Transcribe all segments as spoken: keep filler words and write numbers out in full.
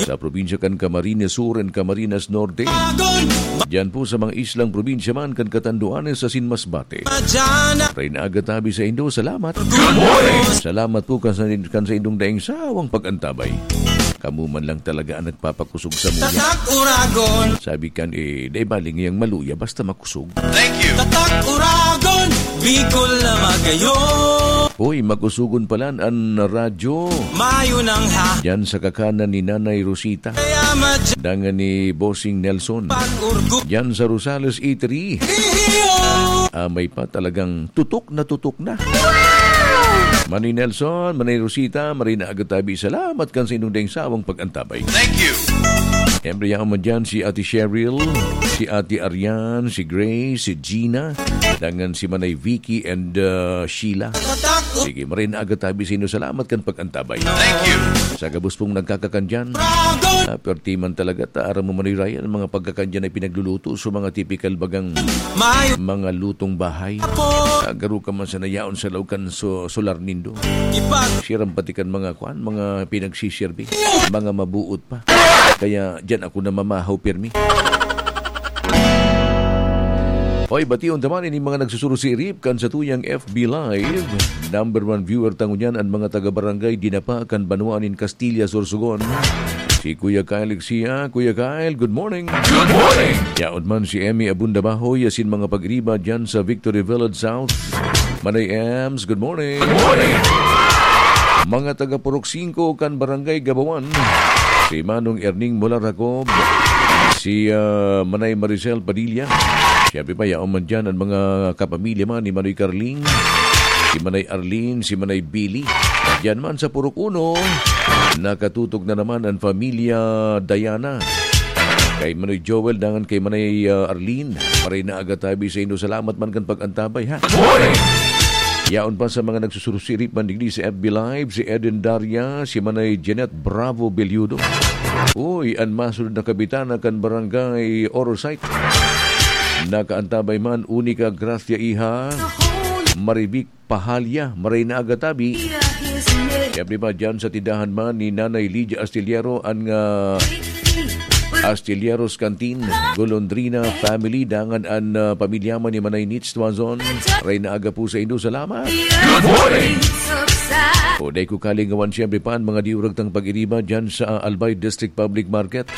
sa probinsya kan Camarines Sur and Camarines Norte. Diyan po sa mga islang probinsya man kan Catanduanes asin Masbate. Maray na aga tabi saindo, salamat. Salamat po kan sa, kan saindong daing sawang pag-antabay. Kamo man lang talaga ang nagpapakusog samuya. Tatak Uragon. Sabi kan, eh, dai bali ngayang maluya, basta makusog. Tatak Uragon, Bicol na magayon. Hoy, makusugon palan an radyo. Mayo nang ha. Diyan sa kakanan ni Nanay Rosita. Kaya madya Dangan ni Bossing Nelson. Pag-urgo. Diyan sa Rosales Eatery. Iyo. Ah, may pa talagang tutok na tutok na. Manoy Nelson, Manay Rosita, maray na aga tabi. Salamat kan sa inyong daing sawang pag-antabay. Thank you. Siyempre, yaon man dyan si Ate Cheryl, si Ate Arian, si Grace, si Gina, dangan si Manay Vicky and, uh, Sheila. Sige, maray na aga tabi sa inyo. Salamat kan pag-antabay. Thank you. Sa gabos pong nagkakakan dyan, ah, perti man talaga, ta, aram mo, Manoy Ryan, ang mga pagkakan dyan ay pinagluluto sa mga tipikal bagang Mayo. Mga lutong bahay. Apo. Ah, garo ka man sa nayaon sa laog kan so-, solar nindo. Ipag- Siram pati kan mga kwan, mga pinagsisirbi, mga mabuot pa. Kaya dyan ako namamahaw pirmi. Hoy, bation ta man ini mga nagsusurusirip kan satuyang F B Live. Number one viewer ta ngunyan an mga taga-barangay Dinapa kan banwaan nin Castilla, Sorsogon. Si Kuya Kyle Ixia. Kuya Kyle, good morning. Good morning. Yaon man si Emmy Abunda Bahoy asin mga pag-iriba dyan sa Victory Village South. Manay Ems, good morning. Good morning. Mga taga Purok Singko kan Barangay Gabawan. Si Manong Erning Molar Jacob. Si, ah, Manay Maricel Padilla. Siyempre pa, yaon man dyan ang mga kapamilya man ni Manoy Carling. Si Manay Arlene, si Manay Billy. Diyan man sa Purok Uno, nakatutok na naman ang pamilya Diana. Kay Manoy Joel, dangan kay Manay, ah, Arlene. Maray na aga tabi sa inyo. Salamat man kan pag-antabay, ha? Yaon pa sa mga nagsusurusirip man digdi sa F B Live, si Eden Daria, si Manay Jeanette Bravo Belludo. Uy, an masunod na kabitana kan Barangay Orosite. Nakaantabay man, Unica Gracia Iha, Marivic Pahalia, maray na aga tabi. Siyempre pa dyan sa tindahan man ni Nanay Lydia Astillero, an, ah, Astilleros Canteen, Golondrina family, dangan an, ah, pamilya man ni Manay Nitz Tuazon. Maray na aga po sa inyo. Salamat. Good morning. O, dai ko kalingawan, siyempre pa, an mga diurag tang pag-iriba dyan sa, ah, Albay District Public Market.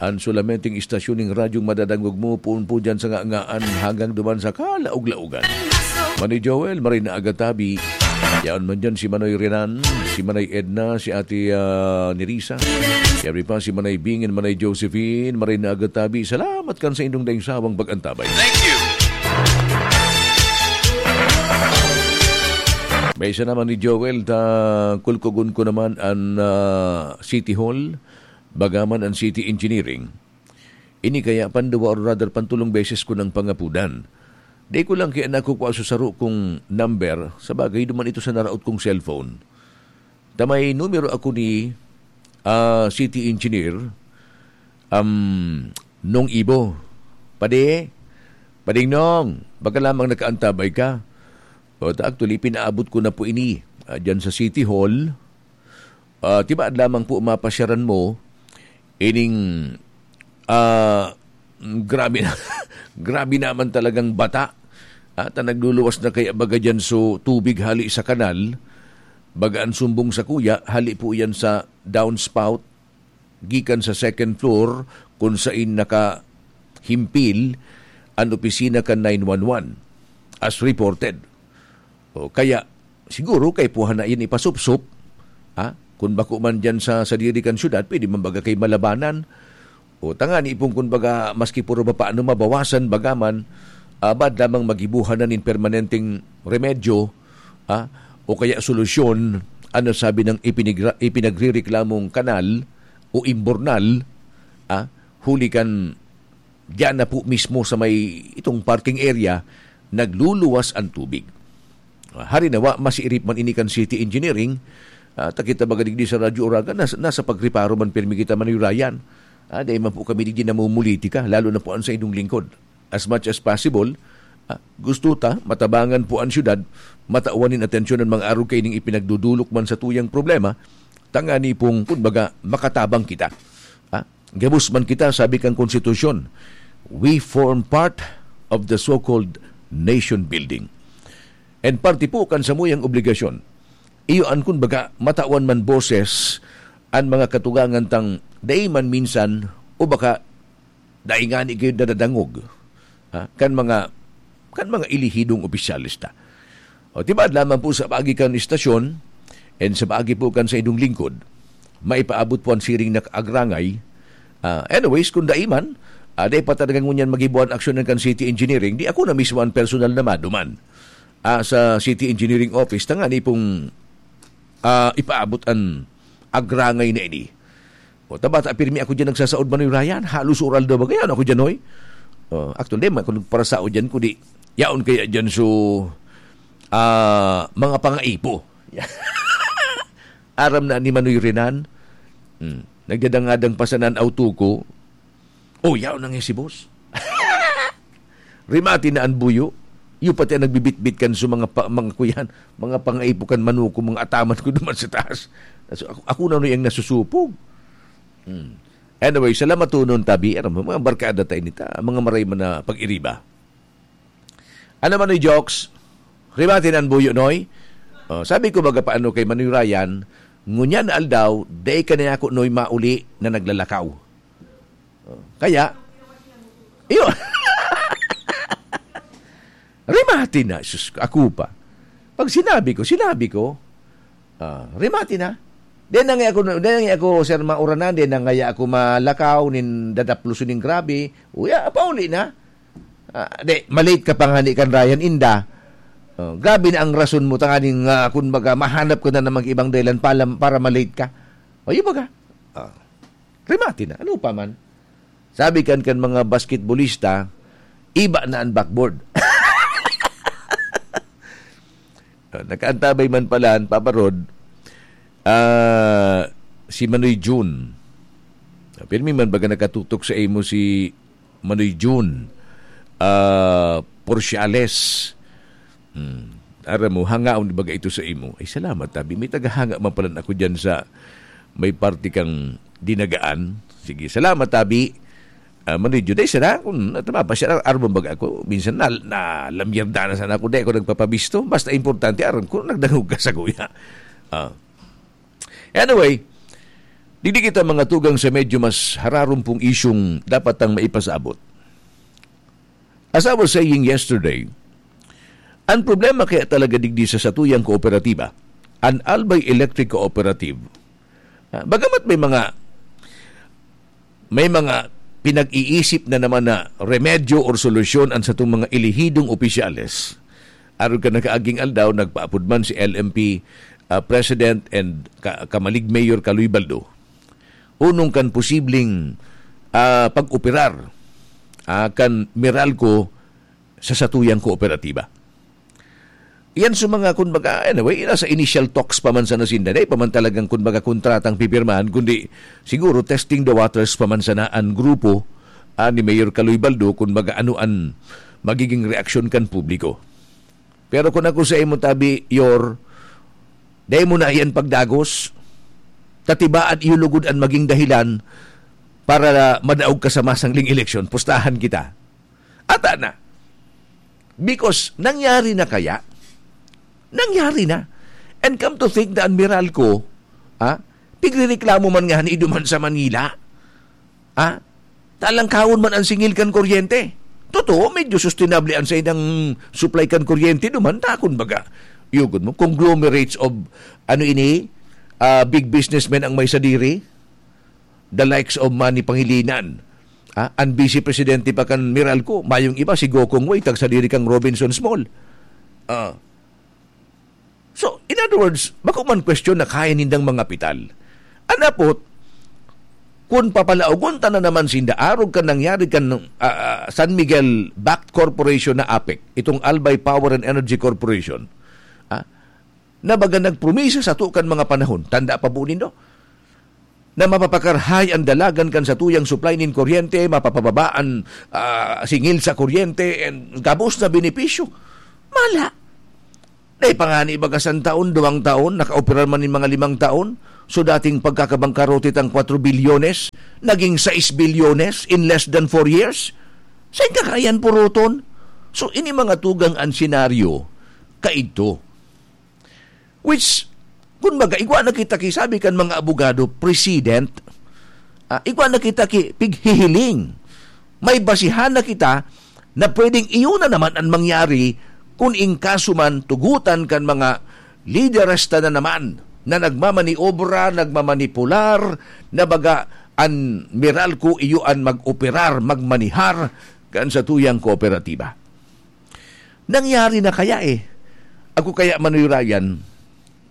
An sulamenteng istasyon ning radyong madadangog mo, poon po dyan sa ngangaan hanggang duman sa kalaog-laogan. Manay Joel, maray na aga tabi. Yaon man dyan si Manoy Renan, si Manay Edna, si Ate, ah, Nerissa. Siyempre pa si Manay Bing and Manay Josephine, maray na aga tabi. Salamat kan sa indong daing sawang pag-antabay. Thank you. May isa naman ni Joel, ta kulkugon ko naman an, ah, City Hall, bagaman an City Engineering. Ini kaya panduwa o rather pantulong beses ko nang pangapudan. Di ko lang kaya nakukua sa saro kong number, sa bagay, duman ito sa naraot kong cellphone. Ta may numero ako ni, ah, City Engineer, um, Nong Ibo. Padi, Pading Nong, baka lamang nakaantabay ka. O, ta actually, pinaabot ko na po ini, ah, dyan sa City Hall. Ah, tibaad lamang po mapasyaran mo ining, ah, grabe na, grabe naman talagang bata. Ah, ta nagluluwas na kaya baga dyan so tubig hali sa kanal, baga an sumbong sa kuya, hali po yan sa downspout, gikan sa second floor, kung sain nakahimpil an opisina kan nine one one, as reported. O, kaya, siguro, kaipuhan na yan ipasupsop, ha? Kung bako man dyan sa sadiri kan syudad, pwede man baga kay malabanan. O, tangani pong, kung baga, maski puro ba paano mabawasan, bagaman, ah, baad lamang magibuhan na nin permanenteng remedyo, ha? O kaya solusyon, ano sabi ng ipinigra-, ipinagrireklamong kanal o imbornal, ha? Huli kan diyan na po mismo sa may itong parking area, nagluluwas ang tubig. Ah, hari nawa, masiirip man ini kan City Engineering, ah, ta kita baga digdi sa Radyo Oraga, nas-, nasa pagreparo man pirmi kita, Manoy Ryan. Ah, dai man po kami digdi namumulitika, lalo na po ang sa inyong lingkod. As much as possible, ah, gusto ta, matabangan po ang syudad, matawan nin atensyon ang mga arog kaining ipinagdudulok man sa tuyang problema, Tangani pong, kumbaga, makatabang kita. Ha? Gabos man kita, sabi kang konstitusyon, we form part of the so-called nation building. And parte po kan samuyang obligasyon. Iyo an, kumbaga, matawan man boses an mga katugangan tang dai man minsan o baka dai ngani gayud nadadangog, ha, kan mga, kan mga elehidong opisyales ta. O, tibaad lamang po sa paagi kan istasyon and sa paagi po kan saindong lingkod, maipaabot po an siring na kaagrangay. Ah, anyways, kung dai man, ah, dai pa talaga ngunyan magibo an aksyon kan City Engineering, di ako na mismo an personal na maduman, ah, sa City Engineering Office, tangani pong, ah, ipaabot an agrangay na ini. O, tabata, pirmi ako diyan nagsasaod, Manoy Ryan. Halos oral daw ba? Kaya ano ako diyan, hoy? O, actually, di man ako nagparasaod diyan, kundi yaon kaya diyan so, ah, mga pangaipo. Aram na ni Manoy Renan. Hmm. Nagdadangadang pa sana an auto ko. O, yaon na nga si boss. Rimati na an buyo. Iyo pati an nagbibitbit kan so mga pa, mga kuyan, mga pangaipo kan manuko, mga ataman ko duman sa taas. So, ako, ako na no yang nasusupog. Hmm. Anyway, salamat tunon, tabi. Aram mo, mga barkada tayo nita, mga maray man na pag-iriba. Ano man, Noy Jokes? Rimati na an buyo, Noy? Oh, sabi ko, baga paano kay Manoy Ryan, ngunyan na aldaw, dai ka na ako, Noy, mauli na naglalakaw. Oh, kaya, iyo. Rimati na, sus, ako pa. Pag sinabi ko, sinabi ko, ah, rimati na. Di na nga ako, di na nga ako, sir, mauranan, di na nga ako malakaw, nin dadapluson nin grabe. Uya, pauli na. Ah, di, malate ka pa nga ni kan Ryan Inda. Oh, grabe na ang rason mo, tanganing, ah, kun baga, mahanap ko na naman ibang dahilan para, para malate ka. O, yung baga. Ah, rimati na. Ano pa man? Sabi kan, kan mga basketbolista, iba na ang backboard. Ah, nakaantabay man pala an Papa Rod, ah, si Manoy Jun. Ah, pirmi man baga nakatutok sa imo si Manoy Jun, ah, Porciales. Hmm. Aram mo, hangaon baga ito sa imo. Ay, salamat, tabi. May tagahanga man pala ako dyan sa may parte kang dinagaan. Sige, salamat, tabi. Ah, Manoy Jun, ay, sana, kung natama pa siya, aram mo baga ako, minsan na, na lamyarda na sana ako, di ako nagpapabisto. Basta importante, aram ko, nagdangog ka sa kuya. Ah. Anyway, digdi kita mga tugang sa medyo mas hararumpong isyung dapat tang maipasabot. As I was saying yesterday, ang problema kaya talaga digdi sa satuyang kooperatiba, an Albay Electric Cooperative, ah, bagamat may mga, may mga pinag-iisip na naman na remedyo or solusyon an satong mga elehidong opisyales, arog kan nakaaging aldaw, nagpaapod man si L M P, ah, President and ka-, kamalig Mayor Kaloy Baldo, unong kan posibleng, ah, pag-operar, ah, kan Meralco sa satuyang kooperatiba. Yan sa mga, kumbaga, anyway, nasa initial talks pa man sana sinda, dai pa man talagang, kumbaga, kontratang pipirmahan, kundi siguro testing the waters pa man sana an grupo, ah, ni Mayor Kaloy Baldo, kumbaga, ano an magiging reaksyon kan publiko. Pero kung ako sa imo, tabi, Yor, dai mo na iyan pagdagos, ta tibaad iyo lugod an maging dahilan para madaog ka sa masangling eleksyon, pustahan kita. Ata na. Because nangyari na kaya? Nangyari na. And come to think, the Admiral ko, ha? Pigrereklamo man nga ni duman sa Manila. Ha? Talangkawon man ang singil kan kuryente. Totoo, medyo sustainable ang saidang supply kan kuryente duman, takon baga. Yugod mo, conglomerates of, ano ini, ah, big businessmen ang may sadiri, the likes of Manny Pangilinan. Ah, ang vice presidente pa kan Meralco, mayong iba, si Gokong Wei, tagsadiri kang Robinsons Mall. Ah. So, in other words, bako man question na kaya nindang mga pital. Anapot, kung papalaogon ta na naman sinda, arog kan nangyari kan, ah, ah, San Miguel-backed corporation na APEC, itong Albay Power and Energy Corporation, ah, na baga nagpromisa sa kan mga panahon, tanda pa po nindo, na mapapakarhay ang dalagan kan satuyang supply nin kuryente, mapapababa an, ah, singil sa kuryente, and gabos na benepisyo. Mala. Dai pa nga ni baga san taon, duwang taon, nakaoperar man nin mga limang taon. So, dating pagkakabangkarote tang kwatro bilyones, naging sais bilyones in less than four years? Sain ka kaya yan puruton? So, ini mga tugang an senaryo, kaidto. Which, kun baga, igwa na kita ki, sabi kan mga abogado, precedent. Ah, igwa na kita ki pighihiling. May basihan na kita na pwedeng iyo na naman an mangyari kun in kaso man tugutan kan mga lideres ta na naman na nagmamaniobra, nagmamanipular, na baga an Meralco iyo an mag-operar, magmanihar kan satuyang kooperatiba. Nangyari na kaya eh. Ako kaya, Manoy Ryan,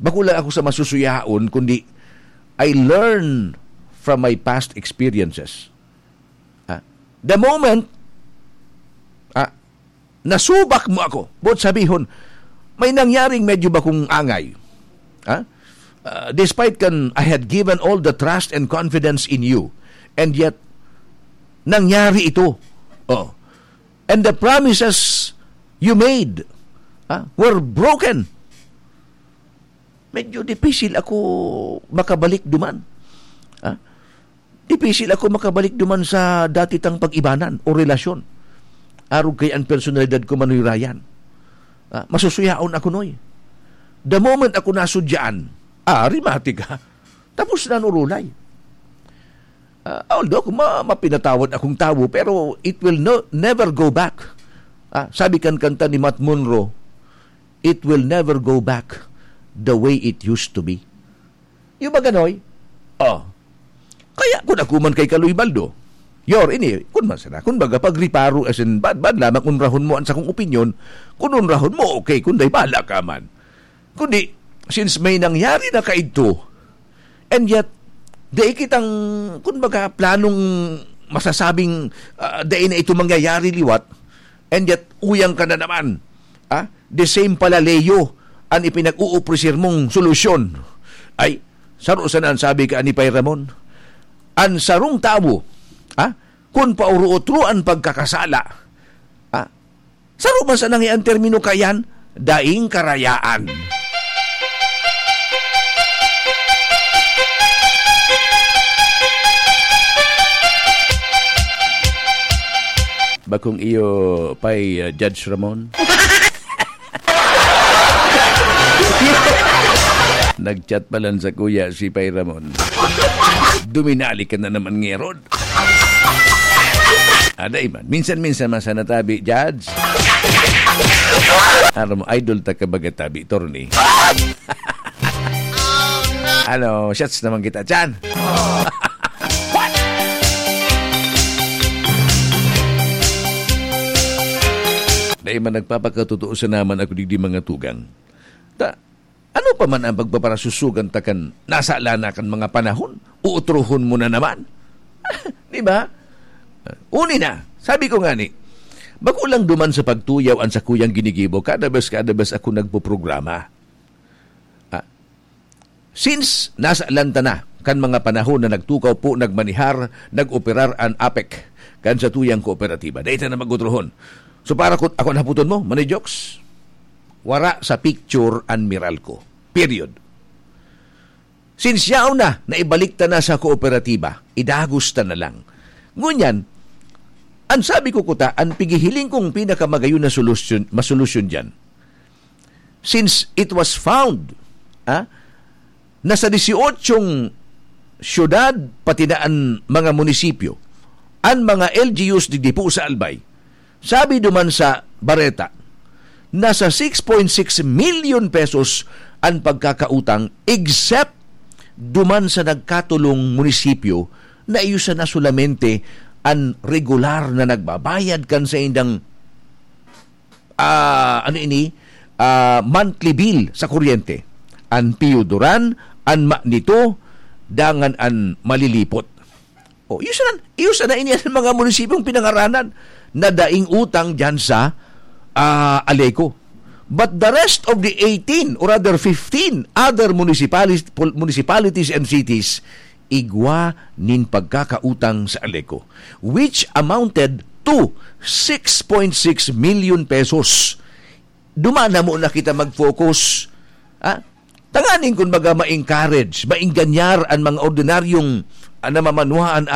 bako lang ako sa masusuyaon, kundi I learn from my past experiences. Ah, the moment, ah, nasubak mo ako, buot sabihon, may nangyaring medyo bakong angay. Ah? Ah, despite kan I had given all the trust and confidence in you, and yet, nangyari ito. Oh. And the promises you made, ah, were broken. Medyo dipisil ako makabalik duman. Ah? Dipisil ako makabalik duman sa dati tang pag-ibanan o relasyon. Arog kay an personalidad ko, Manoy Ryan. Ah, masusuyaon ako, Noy. The moment ako nasudyaan, ah, rimatik ka. Tapos na an urulay. Ah, although ako ma-, mapinatawad akong tawo, pero it will no-, never go back. Ah, sabi kan kanta ni Matt Monro, "It will never go back the way it used to be." Yung ba ganoy? Oh. Kaya kun ako man kay Kaloy Baldo, yor, ini, kun man sana, kun baga pagriparo, as in, bad, bad lamang unrahon mo an sakong opinyon, kun unrahon mo, okay, kun dai, bahala ka man. Kundi, since may nangyari na kaidto, and yet, dai kitang, kun baga, planong masasabing, ah, dai na ito mangyayari liwat, and yet, uyang ka na naman. Ah, the same pala, Leo, an ipinag-uuprisir mong solusyon. Ay, saro sana an sabi ka ni Pay Ramon. An sarong tawo, ah, kun pauro-otro an pagkakasala, ah, saro man sana an termino kayan, daing karayaan. Bakong iyo pay, uh, Judge Ramon? Nag-chat pa lang sa kuya si Pay Ramon. Duminali ka na naman, ngerod. Aday man. Minsan-minsan man sana tabi, Judge. Aram mo, idol ta ka baga tabi, Torni. Ano, shots naman kita, Chan. Dai man nagpapakatotoo sa naman ako digdi mga tugang. Ta, ano pa man ang pagpaparasusugan ta kan nasala na kan mga panahon? Uutrohon mo na naman. Di ba? Uni na, sabi ko nga ni, bako lang duman sa pagtuyaw an sakuyang ginigibo, kada bes, kada bes ako nagpoprograma. Ah, since nasa lanta na kan mga panahon na nagtukaw po, nagmanihar, nag-operar an APEC kan satuyang kooperatiba, dai ta na mag-utrohon. So, para ko, ako an haputon mo, Manay Jokes, wara sa picture an Meralco. Period. Since yaon na, naibalik ta na sa kooperatiba, idagos ta na lang. Ngunyan, ang sabi ko kuta, ang pigihiling kong pinakamagayon na solusyon, masolusyon dyan, since it was found, ah, na sa dieciochong syudad, pati na an mga munisipyo, an mga L G Us digdi po sa Albay, sabi duman sa bareta, nasa six point six million pesos an pagkakautang, except duman sa nagkatulong munisipyo na iyo sana solamente an regular na nagbabayad kan saindang, ah, ano ini, ah, monthly bill sa kuryente. An Pio Duran, an Manito, dangan an Malilipot. O, iyo sana, iyo sana ini an mga munisipyong pinangaranan na daing utang diyan sa, ah, Aleco. But the rest of the eighteen, or rather fifteen, other municipalities, pol-, municipalities and cities, igwa nin pagkakautang sa Aleco, which amounted to six point six million pesos. Duman na muna kita mag-focus, ah, Tanganing, kun baga, ma-encourage, maenganyar an mga ordinaryong, ah, namamanuhaan